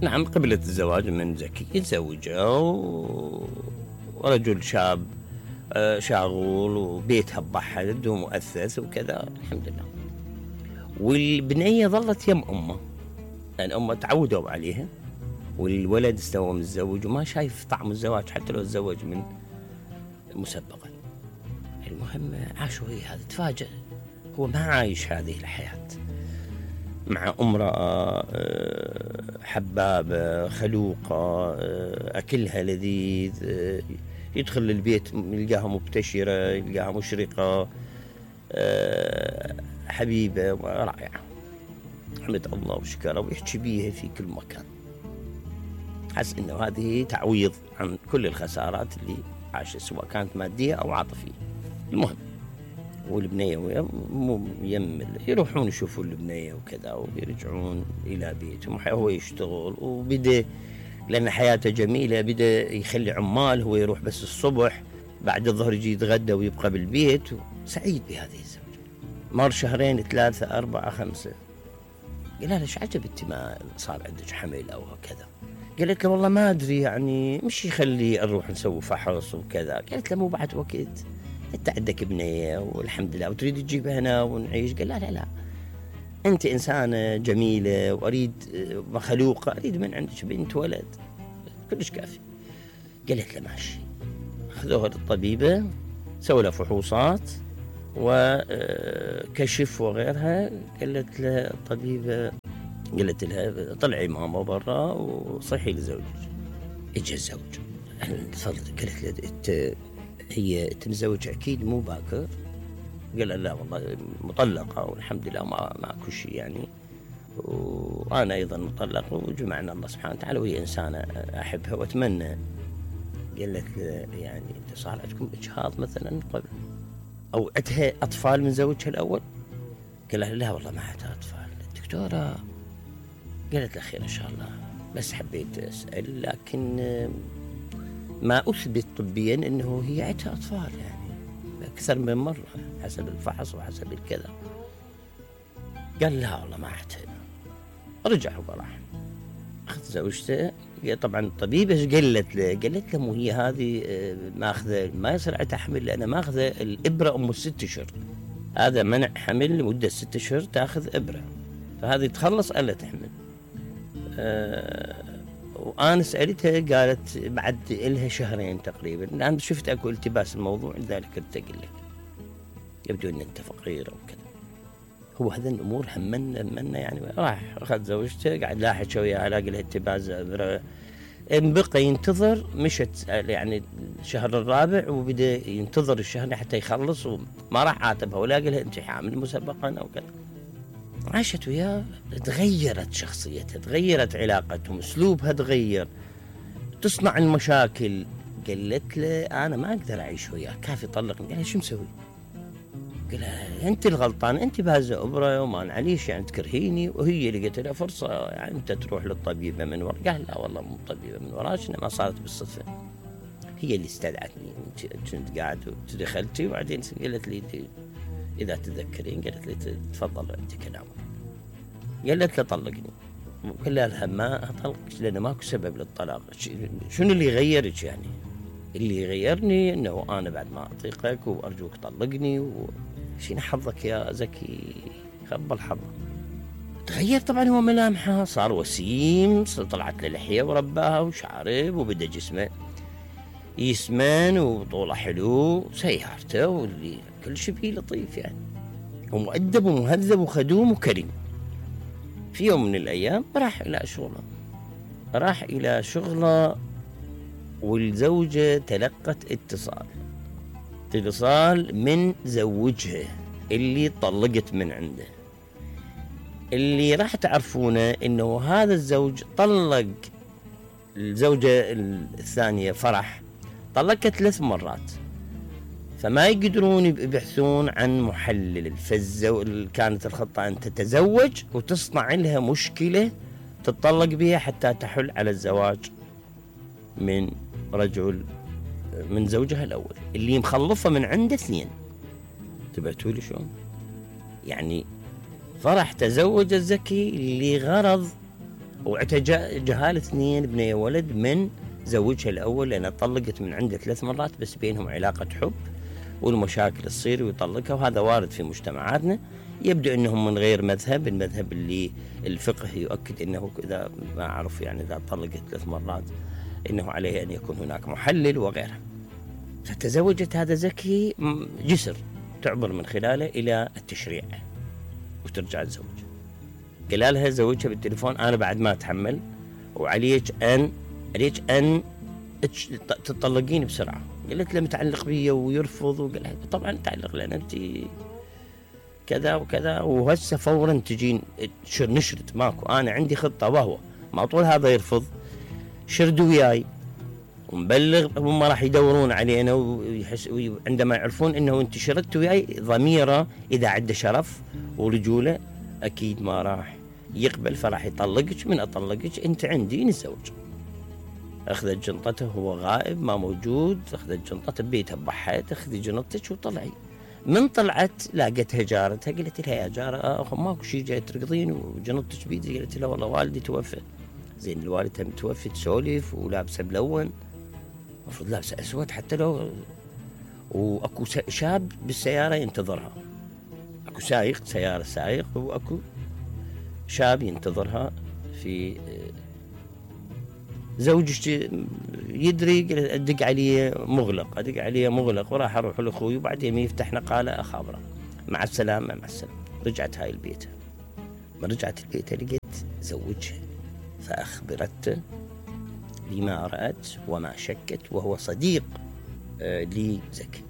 نعم، قبلت الزواج من زكي، تزوجوا ورجل شاب شاغول وبيتها بحد ومؤسس وكذا الحمد لله. والبنية ظلت يم أمه، لأن أمه تعودوا عليها، والولد استوى متزوج وما شايف طعم الزواج حتى لو تزوج من مسبقا. المهم عاشوا هي هذا، تفاجأ هو ما عايش هذه الحياة مع امرأة حبابة خلوقة، أكلها لذيذ، يدخل البيت يلقاها مبتشرة، يلقاها مشرقة، حبيبة رائعة، حمد الله وشكره ويحكي بيها في كل مكان. حس إنه هذه تعويض عن كل الخسارات اللي عاشت سواء كانت مادية أو عاطفية. المهم والبنية يروحون يشوفون البنية وكذا ويرجعون إلى بيتهم، هو يشتغل وبدأ لأن حياته جميلة، بدأ يخلي عمال، هو يروح بس الصبح، بعد الظهر يجي يتغدى ويبقى بالبيت، سعيد بهذه الزوجة. مر شهرين 3 4 5، قال لها ليش عجبتي ما صار عندك حمل أو كذا؟ قالت له والله ما أدري، يعني مش يخلي نروح نسوي فحص وكذا. قالت له مو بعد وقت، انت عندك بنية والحمد لله وتريد تجيبها هنا ونعيش. قال لا انت انسانة جميلة واريد مخلوقة، اريد من عندك بنت ولد كلش كافي. قالت له ماشي. اخذوها للطبيبة، سووا لها فحوصات وكشف وغيرها. قالت له الطبيبة، قالت لها طلعي ماما برا وصحي لزوجك. اجى الزوج قالت له هي تمزوج اكيد مو باكر؟ قال لا والله مطلقه والحمد لله ماكو شيء يعني، وانا ايضا مطلق وجمعنا الله سبحانه وتعالى، وهي انسانه احبها واتمنى. قالت يعني انت صار عندكم اجهاض مثلا قبل او عندها اطفال من زوجها الاول؟ قال لا والله ما عندها اطفال. الدكتوره قالت له خير ان شاء الله، بس حبيت اسال، لكن ما أثبت طبيا أنه هي عندها أطفال يعني أكثر من مرة حسب الفحص وحسب الكذا. قال لا والله ما عندها. رجع وراح أخذ زوجته. طبعا الطبيبة قالت له مو هي هذه ماخذة، ما يصير عندها حمل لأنها ماخذة الإبرة أم 6 أشهر، هذا منع حمل لمدة 6 أشهر تاخذ إبرة، فهذه تخلص ألا تحمل. وأنا سألتها قالت بعد إلها شهرين تقريبا، أنا شفت أكو التباس الموضوع لذلك قلت أقول لك، يبدو أن أنت فقير أو كذا. هو هذا الأمور همنا يعني. راح أخذ زوجته قاعد لاحق وياها، لاقي لها التباس بقى ينتظر، مشت يعني الشهر الرابع وبدأ ينتظر الشهر حتى يخلص، وما راح عاتبها ولا قال لها أنت حامل مسبقا أو كذا. عاشت وياه، تغيرت شخصيتها، تغيرت علاقتهم، اسلوبها تغير، تصنع المشاكل. قالت له انا ما اقدر اعيش وياك، كافي طلقني. قال لها شو مسوي؟ قال لها انت الغلطان، انت بهذا ابره وما نعليش يعني تكرهيني. وهي لقيت لها فرصه يعني انت تروح للطبيبه من وراء. قال لا والله مو طبيبه من وراك، ما صارت بالصدفه، هي اللي استدعتني، كنت قاعد ودخلتي وبعدين قالت لي اذا تذكرين، قالت لي تفضل عندك كلام. قالت له طلقني. قال لها ما اطلقك لان ماكو سبب للطلاق. شنو اللي يغيرك يعني؟ اللي يغيرني انه انا بعد ما اطيقك وارجوك طلقني شنو حظك يا زكي؟ خبل حظك. تغير طبعا هو ملامحه، صار وسيم، طلعت له لحيه ورباها وشعرب، وبدا جسمه يسمن وطوله حلو، سيارته واللي كل شيء فيه لطيف يعني، ومؤدب ومهذب وخدوم وكريم. في يوم من الأيام راح إلى شغله والزوجة تلقت اتصال من زوجها اللي طلقت من عنده. اللي راح تعرفونه إنه هذا الزوج طلق الزوجة الثانية فرح، طلقت 3 مرات، فما يقدرون يبحثون عن محلل. كانت الخطة أن تتزوج وتصنع لها مشكلة تتطلق بها حتى تحل على الزواج من رجل من زوجها الأول اللي مخلفة من عنده 2. تبعتوا لي شلون؟ يعني فرح تزوج الزكي لغرض وعندها جهاله 2 بنيه ولد من زوجها الاول، لانها طلقت من عنده 3 مرات بس بينهم علاقه حب، والمشاكل تصير ويطلقها، وهذا وارد في مجتمعاتنا. يبدو انهم من غير مذهب، المذهب اللي الفقه يؤكد انه اذا ما اعرف يعني اذا طلقت 3 مرات انه عليه ان يكون هناك محلل وغيره. فتزوجت هذا زكي جسر تعبر من خلاله الى التشريع وترجع الزوج. قال لها زوجها بالتليفون انا بعد ما اتحمل، وعليك ان تطلقين بسرعه. قالت له متعلق بي ويرفض، وقال لها طبعا متعلق لان انت كذا وكذا، وهسه فورا تجين نشرد ماكو، انا عندي خطه وهو ما طول هذا يرفض شردوا وياي ومبلغ، هم راح يدورون علينا وعندما يعرفون انه انت شردت وياي ضميره اذا عنده شرف ورجوله اكيد ما راح يقبل، فراح يطلقك. من اطلقك انت عندي نتزوج. اخذت جنطته، هو غائب ما موجود، اخذت جنطته ببيتها بحيت، اخذي جنطتك وطلعي. من طلعت لاقتها جارتها، قالت لها يا جاره ماكو شيء جاي ترقضين وجنطتك بيدي؟ قالت لها والله والدي توفى. زين الوالد متوفي تسولف ولابسه ملون، المفروض لابسه اسود حتى لو، واكو شاب بالسياره ينتظرها، اكو سايق سياره سايق واكو شاب ينتظرها. في زوجك يدري، ادق عليه مغلق، وراح اروح لاخوي وبعدين يفتح نقاله اخابره مع السلامه. رجعت هاي البيت، ما رجعت البيت لقيت زوجها، فاخبرته بما رأت وما شكت، وهو صديق لزكي.